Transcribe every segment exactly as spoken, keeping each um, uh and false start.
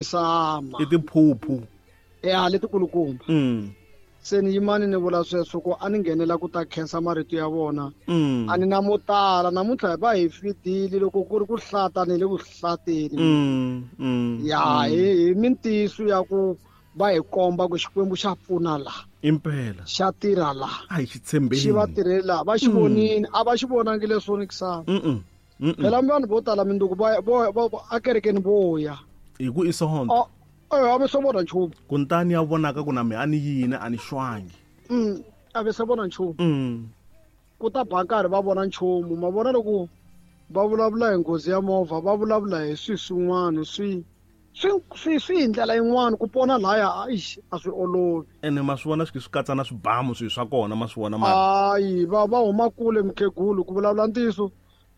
Sama. I tiphuphu. Ya letikulukumba. Mm. Se ni yimani ni vula sweswo ku a ni nghenela ku ta khensa marito ya vona. Mm. A ni na mo tala namuntlha va hi fidile loko ku ri ku hlata ni le ku hlateni. Mm. Mm. Ya hi hi mintiyiso ya ku va hi komba ku Xikwembu xa pfuna la. Impela. Xa tirha la. A hi xi tshembeni. Xi va tirhela va xi vonile a va xi vonangi leswo ni kisana. Mm. Mm. Phela vanhu vo tala minduku va va a kerekeni vo ya. Hi ku i sonto. Eh a va se vona nchumu. Kuntani ya vonaka ku na me a ni yini a ni xwangi. Mm a va se vona nchumu. Mm. Ku ta ba nkarhi va vona nchumu ma vona loko va vulavula hi nghozi ya movha va vulavula hi swi swin'wana swi swi swi swi hi ndlela yin'wana ku pona laya eish a swi olovi. Ene ma swi vona swi swi katsa na swibamu swi swa kona ma swi vona mara. Hayi va va huma kule mukhegulu ku vulavula ntiyiso.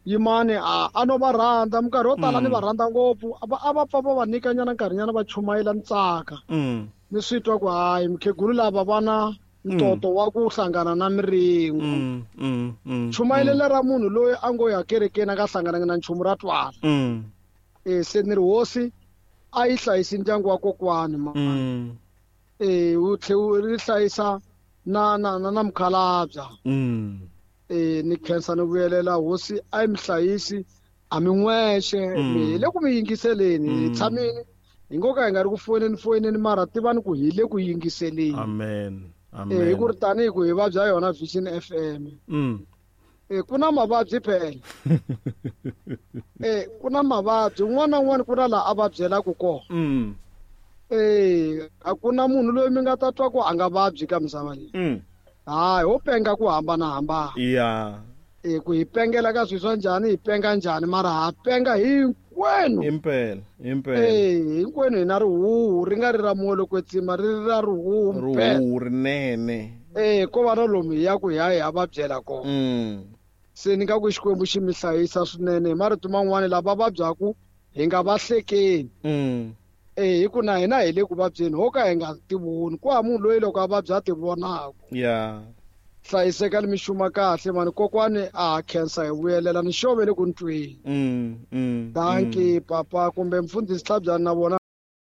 Yimani a a no va rhandza minkarhi yo tala ni va rhandza ngopfu a va a va pfa va va nyikanyana nkarhinyana va chumayela ni tsaka. Mm. Ni swi twa ku hayi mukhegulu lava va na ntoto wa ku hlangana na miringo. Mm, mm, mm, Chumayelelo ra munhu loyi a ngo ya kerekeni a nga hlangananga na nchumu ra twala. Mm. Eh se ni ri hosi a yi hlayisi ndyangu wa kokwani ma. Mm. Eh wu tlhe wu ri hlayisa na na na na mukhalabya. Mm. Eh ni khensa ni vuyelela hosi a yi mi hlayisi a mi n'wexe Mm. mi hi le ku mi yingiseleni hi Mm. tshamile hi ngo ka hi nga ri ku foyineni foyineni mara tivani ku hi le ku yingiseleni. Amen. Amen. Eh hi ku ri tanihi ku hi vabya yona Vision F M. Mm. Eh ku na mavabyi phela. Eh ku na mavabyi un'wana na un'wana ku na laha a vabyelaka kona. Mm. Eh a ku na munhu loyi mi nga ta twa ku a nga vabyi ka misava leyi. Mm. Hayi ho penga ku hambanahambana. Yeah. Eh ku hi pengela ka swilo swa njhani hi penga njhani mara ha penga hinkwenu. Impela, impela. Eh hinkwenu hi na rihuhu ri nga ri ra moya loko kwetsima ri ri ra rihuhu mpela. Rihuhu rinene. Eh ko va na lomu hi ya ku hi ya hi ya va byela kona. Mm. Se ni nga ku Xikwembu xi mi hlayisa swinene hi marito man'wani lava vabyaku hi nga va hlekeni. Mm. Eh hi ku na hina hi le ku vabyeni ho ka hi nga tivoni ku ha munhu loyi loko a vabya a ti vonaka. Yeah. Hlayiseka ni mixuma kahle mani kokwani a ha khensa hi vuyelela ni xove le ku ntweni. Mm, mm, Dankie papa kumbe mfundhisi Tlhabyana na vona.